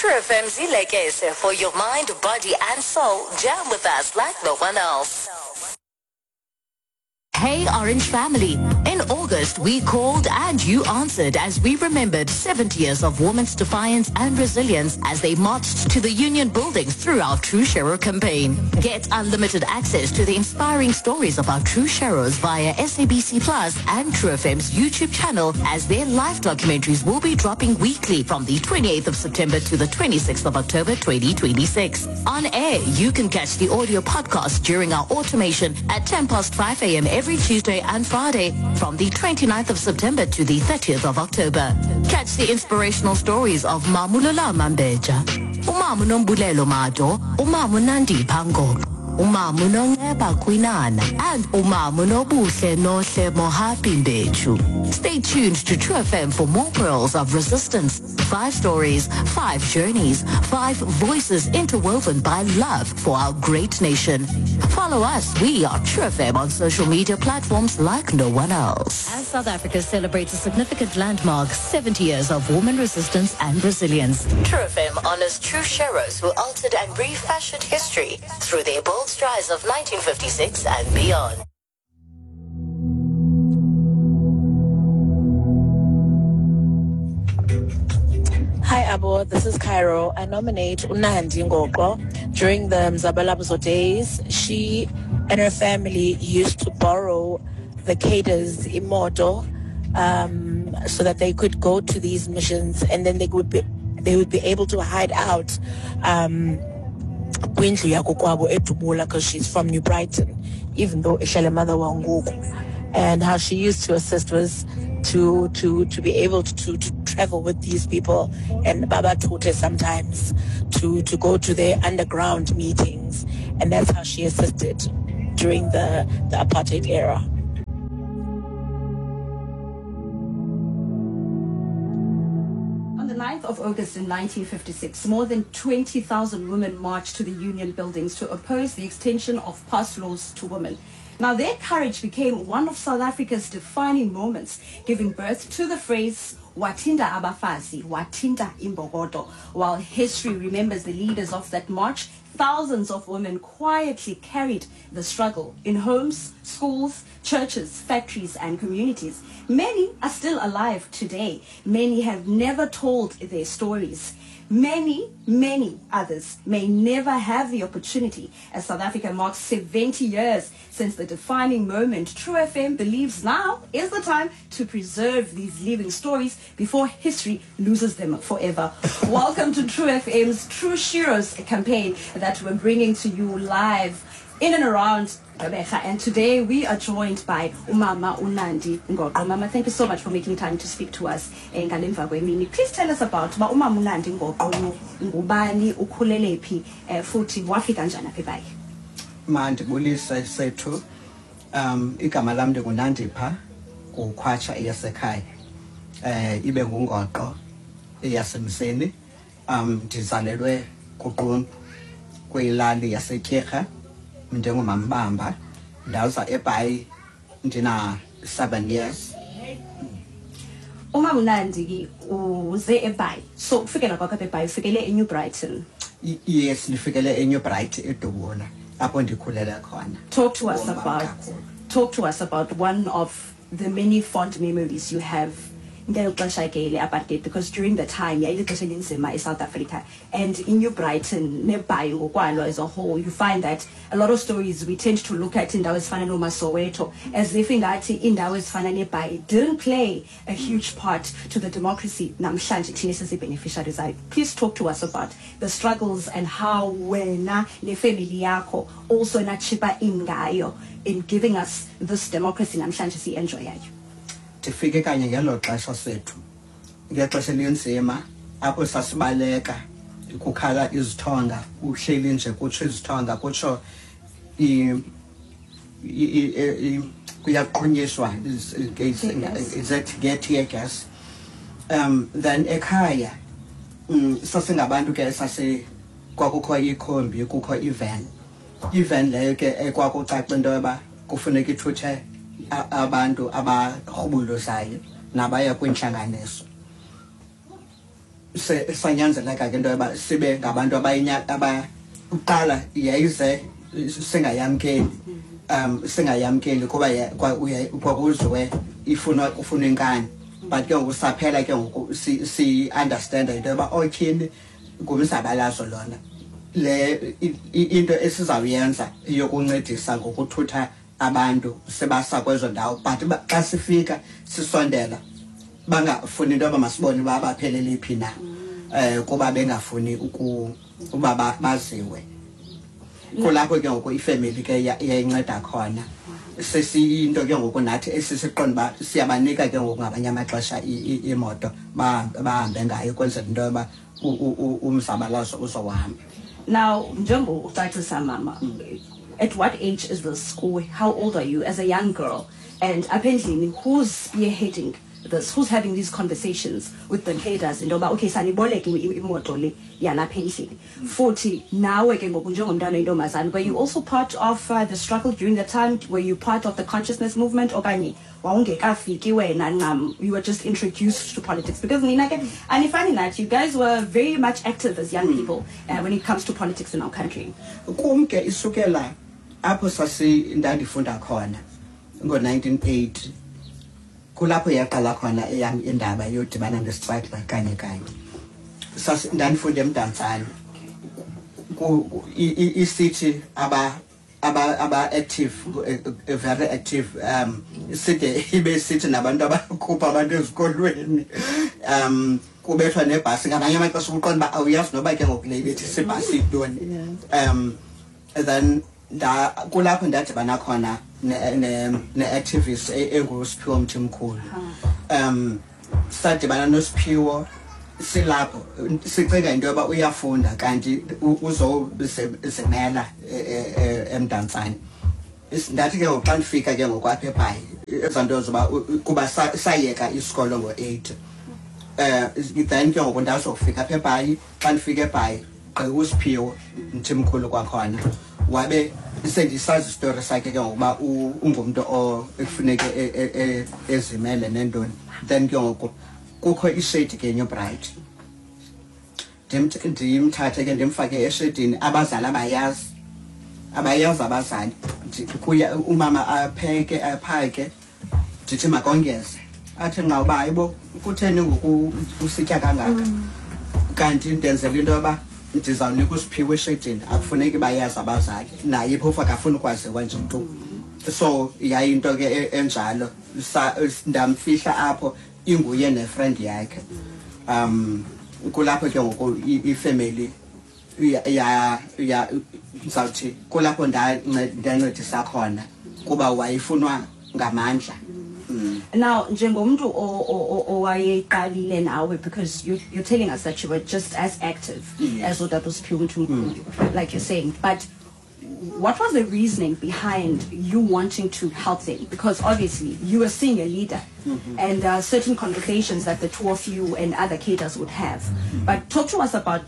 True FM's Ilekese for your mind, body and soul. Jam with us like no one else. Hey Orange Family. In August, we called and you answered as we remembered 70 years of women's defiance and resilience as they marched to the union buildings through our True Sharer campaign. Get unlimited access to the inspiring stories of our True Sharers via SABC Plus and True FM's YouTube channel as their live documentaries will be dropping weekly from the 28th of September to the 26th of October 2026. On air, you can catch the audio podcast during our automation at 10 past 5 a.m. every Tuesday and Friday from the 29th of September to the 30th of October. Catch the inspirational stories of Mamulola Mambeja, Umamu Nombulelo Mado, Umamu Nandi Pango, Umamu Nonceba Kwinana, and Umamu Nobuhle Nohle Mohapi Mbechu. Stay tuned to True FM for more pearls of resistance. Five stories, five journeys, five voices interwoven by love for our great nation. Follow us. We are True FM on social media platforms like no one else. As South Africa celebrates a significant landmark, 70 years of woman resistance and resilience. True FM honors true sheroes who altered and refashioned history through their bold strides of 1956 and beyond. Hi Abo, this is Cairo. I nominate Unandi Ngoqo. During the Mzabalazo days, she and her family used to borrow the cadres imoto so that they could go to these missions, and then they would be able to hide out kwindlu yakokwabo eDubula, because she's from New Brighton, even though ihlala eMotherwell ngoku. And how she used to assist was to be able to travel with these people and Baba Tote sometimes to go to their underground meetings, and that's how she assisted during the apartheid era. On the 9th of August in 1956, more than 20,000 women marched to the union buildings to oppose the extension of pass laws to women. Now, their courage became one of South Africa's defining moments, giving birth to the phrase, Wathinta abafazi, wathinta imbokodo. While history remembers the leaders of that march, thousands of women quietly carried the struggle in homes, schools, churches, factories, and communities. Many are still alive today. Many have never told their stories. Many, many others may never have the opportunity. As South Africa marks 70 years since the defining moment, True FM believes now is the time to preserve these living stories before history loses them forever. Welcome to True FM's True Sheroes campaign that we're bringing to you live in and around Gqeberha. And today we are joined by Umama uNandi Ngoqo. Mama, thank you so much for making time to speak to us. Ngale mva kwemini. Please tell us about uba Umama uNandi Ngoqo ngubani, ukhulele phi, futhi wafika njani apha eBhayi? Mandibulise sethu. Igama lam ndinguNandipha kukhwatsha eyasekhaya. Ibe nguNgoqo eyasemseni. Ndizalelwe kuQumbu kwilali yaseTyirha. Ndingumambamba, ndaza eBhayi ndina 7 years. Umama uNandi ke uze eBhayi. So ufikela kwakho apha eBhayi, ufikele eNew Brighton. Yes, ndifikele eNew Brighton eDubula, apho ndikhulele khona. Talk to us Umama about kakhulu. talk to us about one of the many fond memories you have ngelo xesha ke le apartheid, because during the time yayilixesha elinzima eSouth Africa, and in New Brighton neBhayi ngokwalo as a whole, you find that a lot of stories we tend to look at indawo ezifana noomaSoweto as if ingathi indawo ezifana neBhayi didn't play a huge part to the democracy namhlanje thina sizi-beneficiaries zayo. Please talk to us about the struggles and how wena nefamily yakho also nachipa in ngayo in giving us this democracy namhlanje siyi-enjoyayo. Ndifike kanye ngelo xesha sethu, ngexesha elinzima apho sasibaleka kukhala izithonga, uhleli nje kutsho izithonga, kutsho kuyaqhunyiswa nge-tear gas. Then ekhaya, sasingabantu ke sase kwakukho ikhombi, kukho ivan. Ivan leyo ke ekwakucaca into yoba kufuneka ithuthe abantu abarhubuluzayo nabaya kwiintlanganiso. Sanyanzeleka ke into yoba sibe ngabantu abaqala yayize singayamkeli, singayamkeli kuba kwakuziwe ifuna ufuna inkani, but ke ngoku saphela ke ngoku si-understanda into yoba otyhini ngumzabalazo lona le into esizawuyenza yokuncedisa ngokuthutha abantu sebasa kwezo ndawo. But xa sifika sisondela, bangafuni into yoba masibone uba baphelele phi na, kuba bengafuni uba baziwe. Kulapho ke ngoku ifemeli ke yayinceda khona, sesiyinto ke ngoku nathi esisiqonda uba siyabanika ke ngoku ngamanye amaxesha imoto bahambe ngayo, kwenzela into yoba umzabalazo uzohamba. Now, njengo ucacisa mama, at what age is this? Or how old are you as a young girl? And apha endlini, who's spearheading this? Who's having these conversations with the cadres into yoba okay, saniboleke imoto le yalapha endlini? Futhi nawe ke ngoku njengomntwana oyintombazana, were you also part of the struggle during the time? Were you part of the consciousness movement, okanye wawungekafiki wena ncam, you were just introduced to politics? Because nina ke anifani nathi, you guys were very much active as young people when it comes to politics in our country. Kum ke isukela apho sasi ndandifunda khona ngo-1980, kulapho yaqala khona eyam indaba yodibana ne-struggle kanye kanye. Ndandifunda eMdantsane. Isithi aba active, very active, side ibe sithi nabantu abakhupha abantu ezikolweni, kubethwa nebhasi ngamanye amaxesha, uqonda uba awuyazi noba ke ngoku le ibethi ibhasi yintoni. Then nda kulapho ndadibana khona ne-activist enguSiphiwo Mthimkhulu. Sadibana noSiphiwo silapho sicinga into yoba uyafunda, kanti uzozimela eMdantsane. Ndathi ke ngoku xa ndifika ke ngoku apha eBhayi, ezaa nto zoba kuba sayeka isikolo ngo-8, then ke ngoku ndazofika apha eBhayi. Xa ndifika eBhayi, gqi uSiphiwo Mthimkhulu kwakhona, wabe sendisazi isitori sakhe ke ngokuba ungumntu ekufuneke ezimele nentoni. Then ke ngoku kukho ishedi ke eNew Bright, ndimthathe ke ndimfake eshedini. Abazali abayazi, abayazi abazali. Kuya umama apheke, aphake, ndithi makongeze, athi nqa uba hayibo, kutheni ngoku usitya kangaka? Kanti ndenzela into yoba ndizawunika uSiphiwe eshedini, akufuneki bayazi abazali, naye phofu akafuni ukwaziwa nje mntu. So yayinto ke enjalo. Ndamfihla apho, inguye ne-friend yakhe. Kulapho ke ngoku ifemeli ya ndizawuthi kulapho ndancedisa khona, kuba wayefunwa ngamandla. Now, njengomntu owayeqalile nawe, because you're telling us that you were just as active as utata uSiphiwe Mthimkhulu, like you're saying, but what was the reasoning behind you wanting to help them? Because obviously you were seeing a leader and there are certain conversations that the two of you and other cadres would have. But talk to us about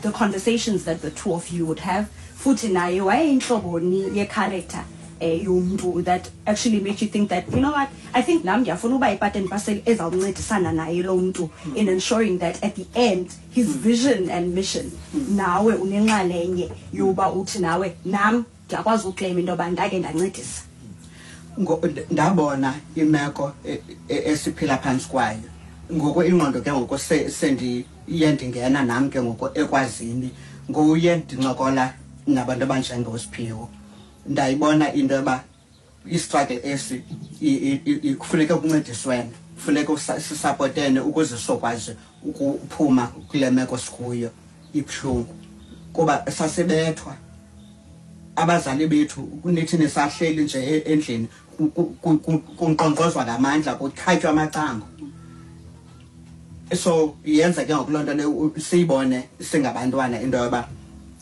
the conversations that the two of you would have. Futhi naye wayeyinhloboni ye-character yomntu that actually made you think that, you know what, I think nam ndiyafuna uba yi-part and parcel ezawuncedisana naye lo mntu in ensuring that at the end his vision and mission, nawe unenxalenye yoba uthi nawe nam ndiyakwazi ukleyima into yoba ndake ndancedisa? Ndabona imeko esiphila phantsi kwayo ngoku, ingqondo ke ngoku sendiye ndingena nam ke ngoku ekwazini nguye, ndincokola nabantu abanjengoSiphiwo, ndayibona into yoba i-struggle esi kufuneka kuncediswene, kufuneka sisapotene ukuze sokwazi ukuphuma kule meko sikuyo ibuhlungu, kuba sasebethwa abazali bethu, nithi nisahleli nje endlini, kunkqonkqozwa ngamandla, kukhatywa amacango. So yenza ke ngoku loo nto leyo siyibone singabantwana into yoba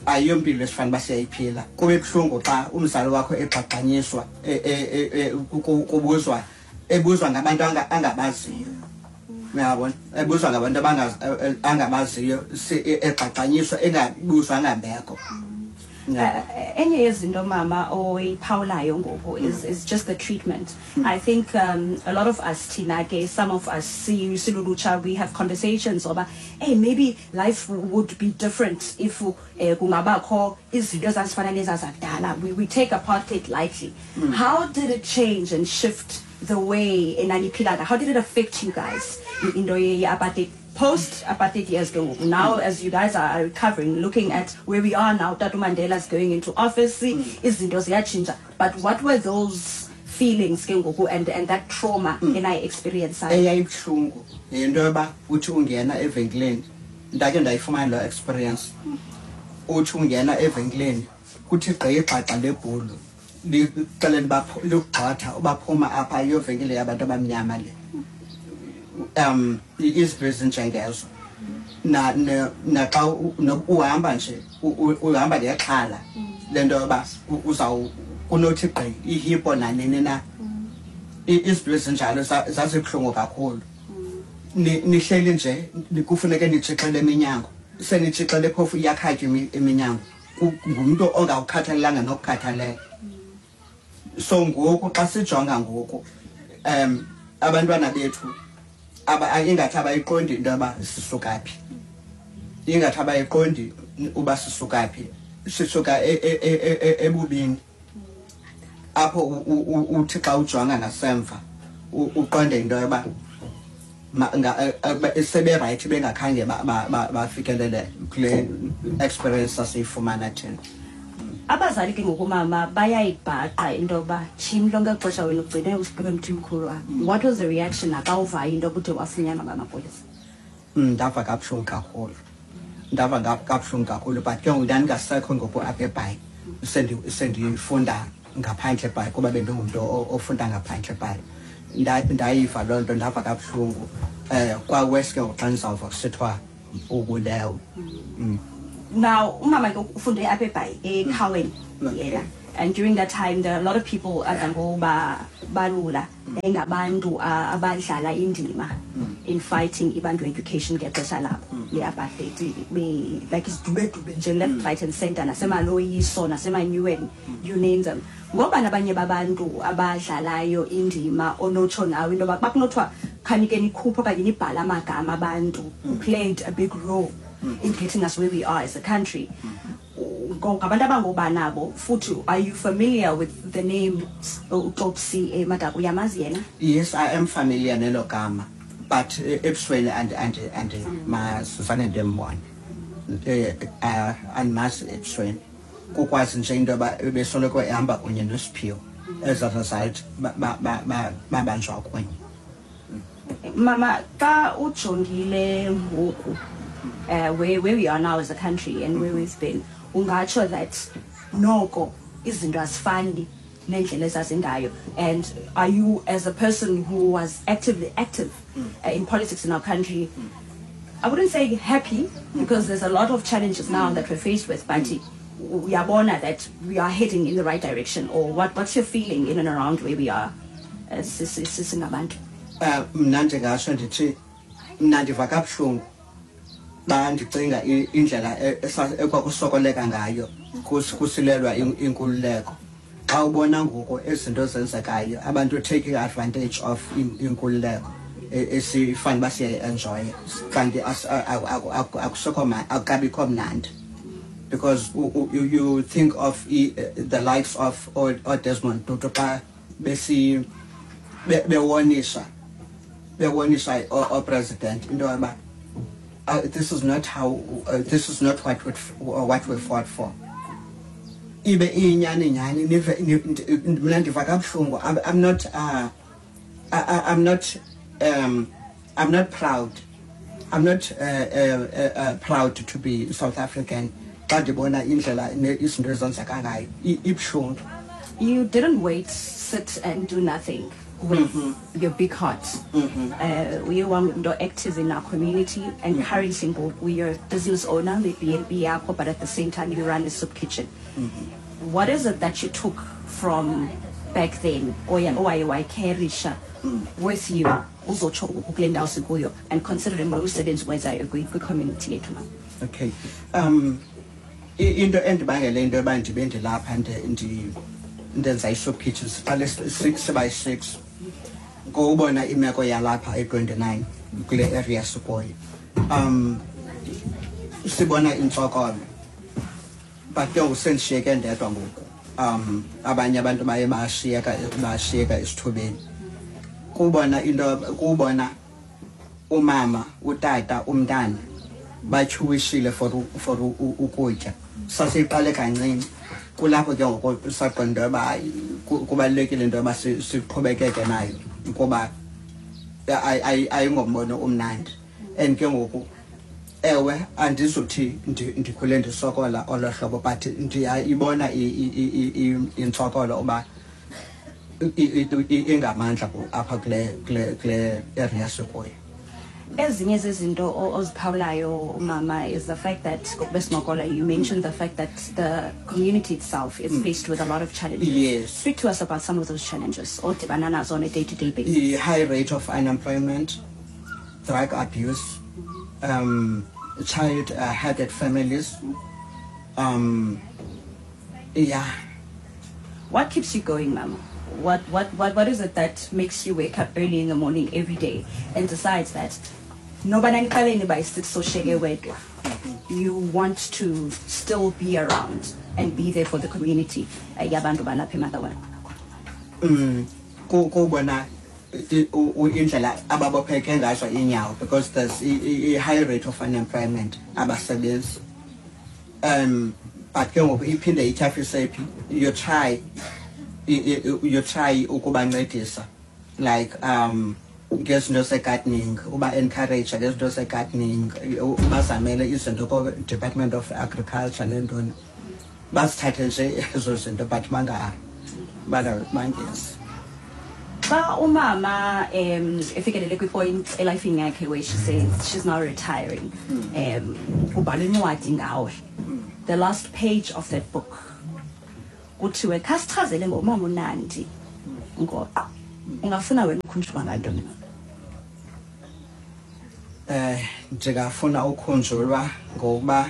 ayiyompilo esifanele uba siyayiphila. Kube buhlungu xa umzali wakho egxagxanyiswa, kubuzwa, ebuzwa ngabantu angabaziyo, uyabona, ebuzwa ngabantu angabaziyo, egxagxanyiswa, engabuzwa ngambeko. Enye yezinto, mama, oyiphawulayo ngoku is just the treatment. I think a lot of us, thina ke, some of us silulutsha, we have conversations oba, hey, maybe life would be different if kungabakho izinto ezazifana nezazakudala. We take apartheid lightly. How did it change and shift the way enaniphila? How did it affect you guys, into ye-apartheid, post apartheid years ke ngoku, now as you guys are recovering, looking at where we are now, Tata Mandela is going into office, izinto ziyatshintsha, but what were those feelings ke ngoku and that trauma enayi-experience? Eyayibuhlungu yinto yoba uthi ungena evenkileni, ndake ndayifumana loo experience, uthi ungena evenkileni kuthi gqi igxagxa lebhulu lixelele uba likugxotha ubaphuma apha, iyovenkile yabantu abamnyama le. Izinto ezinjengezo, naxa uhamba nje uhamba ngexhala lento yoba uzaw kunothi gqi ihipo nanini na. Izinto ezinjalo zazibuhlungu kakhulu. Nihleli nje kufuneke nitshixele eminyango, senitshixele phofu iyakhatywa iminyango, ngumntu ongawukhathalelanga nokukhathalela. So ngoku xa sijonga ngoku, abantwana bethu ingathi abayiqondi into yoba sisuka phi, ingathi abayiqondi uba sisuka phi. Sisuka ebubini apho uthi xa ujonga ngasemva uqonde into yoba sebe-right bengakhange bafikelele kule experience sasiyifumana thina. Abazali ke ngoku, mama, bayayibhaqa into yoba tshini lonke xesha wena ugcine usiqebe mthimkhulu apha. What was the reaction naxa uvayo into yokude wafunyanwa ngamapolisa? Ndava kabuhlungu kakhulu, ndava kabuhlungu kakhulu, but ke ngoku ndandingasekho ngoku apha eBhayi, sendifunda ngaphandle eBhayi, kuba bendingumntu ofunda ngaphandle eBhayi. Ndayiva loo nto, ndava kabuhlungu. Kwawes ke ngoku xa ndizawuva kusithiwa ubulewe. Now umama ke ufunde apha eBhayi, eCowan yena, and during that time there are a lot of people adla balula engabantu abadlala indima in fighting ibantu education ngexesha labo le-apartheid, like isidubedube nje left, right and center, nasemaloyiso, nasemanyuweni, you name them. Ngoba nabanye babantu abadlalayo indima onotsho nawe into yoba bakunothiwa khanike nikhuphe okanye nibhale amagama abantu who played a big role in getting us where we are as a country, ngabantu abangobanabo futhi, are you familiar with the name uTopsy Madaka? Uyamazi yena? Yes, I am familiar nelo gama, but ebusweni and masifane ndimbone, andimazi ebusweni, kukwazi nje into yoba besoloko ehamba kunye noSiphiwo, as a result babanjwa kunye. Mama, xa ujongile ngoku, where we are now as a country and where we've been, ungatsho that noko izinto azifani nendlela ezazingayo? And are you, as a person who was actively active in politics in our country, I wouldn't say happy, because there's a lot of challenges now that we're faced with, but uyabona that we are heading in the right direction, or what's your feeling in and around where we are as singabantu? Mna ndingatsho ndithi mna ndiva kabuhlungu xa ndicinga indlela ekwakusokoleka ngayo kusilelwa inkululeko. Xa ubona ngoku izinto ezenzekayo, abantu taking advantage of inkululeko esifane uba siyayi-enjoya, kanti akusekho akukabikho mnandi, because you think of the likes of oDesmond Tutu xa besi bewonisha o-president into yoba this is not how, this is not what we fought for, ibe iyinyani nyani. Mna ndiva kabuhlungu. I'm not proud, I'm not proud to be South African xa ndibona indlela izinto ezenzeka ngayo. Ibuhlungu. You didn't wait, sit and do nothing with your big heart. Uye wangumntu active in our community, and currently ngoku you're a business owner with B&B yakho, but at the same time you run a soup kitchen. What is it that you took from back then oya owaye wayicarrysha with you uzotsho kule ndawo sikuyo, and considering lo msebenzi wenzayo kwi-community yethu, ma? Okay. Into endibangele into yoba ndibe ndilapha ndenza i-soup kitchen, siqale sibayi-6, ngokubona imeko yalapha e-29 kule area sikuyo. Sibona intsokolo, but ke ngoku sendishiyeke ndedwa ngoku. Abanye abantu baye bashiyeka esithubeni. Kubona into, kubona umama, utata, umntana batyhuwishile for ukutya. Sasiqale kancinci, kulapho ke ngoku saqonda into yoba hayi, kubalulekile into yoba siqhubekeke nayo, kuba ayingombono omnandi. And ke ngoku ewe, andizuthi ndikhule ndisokola olo hlobo, but ndiyayibona intsokolo uba ingamandla apha kule area sikuyo. Ezinye zezinto oziphawulayo, mama, is the fact that ngokubesincokola, you mentioned the fact that the community itself is faced with a lot of challenges. Yes. Speak to us about some of those challenges odibana nazo on a day-to-day basis. The high rate of unemployment, drug abuse, child-headed families. Yeah. What keeps you going, mama? What is it that makes you wake up early in the morning every day and decides that noba naniqaleni by 6 sosheke wedwa, you want to still be around and be there for the community yabantu balapha eMotherwell? Kubona indlela ababopheke ngazo inyawo, because there's a high rate of unemployment, abasebenzi. But ke ngoku iphinde ityhafise phi, you try ukubancedisa, like ngezinto ze-gardening, uba encourage ngezinto ze-gardening, ubazamele izinto ko-Department of Agriculture nentoni, bazithathe nje ezo zinto, but bangezi. Xa umama efikelele kwi-point elifini yakhe where she says she's now retiring, ubhala incwadi ngawe, the last page of that book kuthiwe khasichazele ngomama uNandi Ngoqo, ungafuna wena ukhunjulwa ngantoni? Ndingafuna ukhunjulwa ngokuba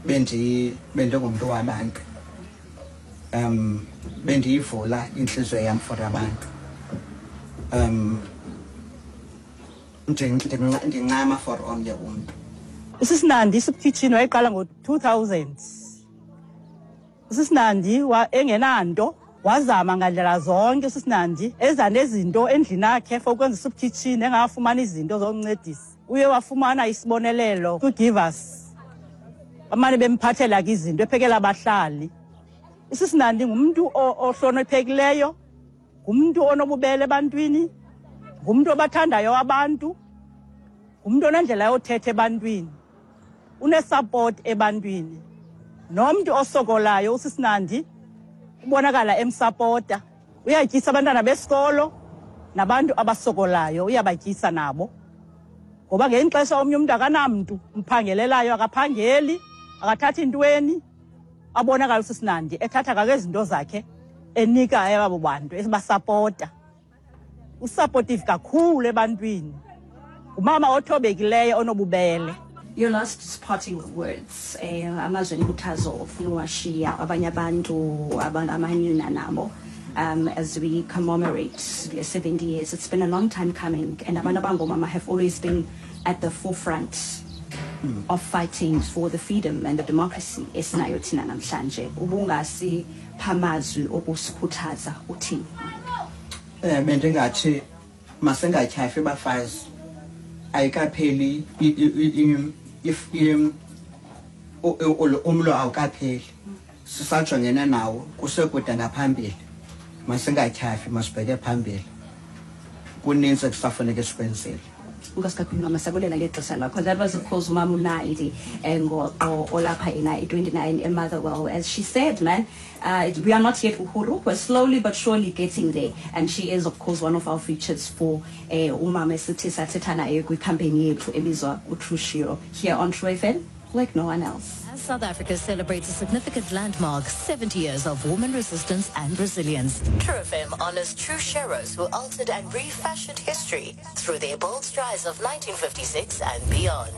bendingumntu wabantu. Bendiyivula intliziyo yam for abantu. Ndincama for omnye umntu. USisinandi i-soup kitchen wayiqala ngo-2000. USisinandi engenanto, wazama ngandlela zonke. USisinandi eza nezinto endlini yakhe for ukwenza i-soup kitchen, engafumani izinto zokuncedisa. Uye wafumana isibonelelo kwi-Givers, bamane bemphathela ke izinto, ephekela abahlali. USisinandi ngumntu ohloniphekileyo, ngumntu onobubele ebantwini, ngumntu obathandayo abantu, ngumntu onendlela yothetha ebantwini, une-support ebantwini. Nomntu osokolayo uSisinandi ubonakala emsapota. Uyatyisa abantwana besikolo nabantu abasokolayo, uyabatyisa nabo. Ngoba ngelinye ixesha omnye umntu akanamntu umphangelelayo, akaphangeli, akathathi ntweni. Abonakala uSisinandi ethatha kake izinto zakhe enika abo bantu, ebasapota. Usupportive kakhulu ebantwini. Ngumama othobekileyo onobubele. Your last parting words, amazwi enkuthazo ofuna uwashiya abanye abantu, amanina nabo, as we commemorate the 70 years. It's been a long time coming, and abantu abangomama have always been at the forefront of fighting for the freedom and the democracy esinayo thina namhlanje. Ubungasipha amazwi okusikhuthaza uthini? Bendingathi masingatyhafi bafazi. Ayikapheli umlo, awukapheli, sisajongene nawo, kusekude ngaphambili. Masingatyhafi, masibheke phambili, kuninzi ekusafuneka sikwenzile. Enkosi kakhulu mama, sabulela ngexesha lakho. That was of course umama uNandi Ngoqo olapha ina i-29 eMotherwell. As she said, man, we are not yet Uhuru. We're slowly but surely getting there, and she is of course one of our features for umama esithi sathetha naye kwi-campaign yethu ebizwa uTrue Shiro here on True FM, like no one else. As South Africa celebrates a significant landmark, 70 years of woman resistance and resilience, True FM honors true sheroes who altered and refashioned history through their bold strides of 1956 and beyond.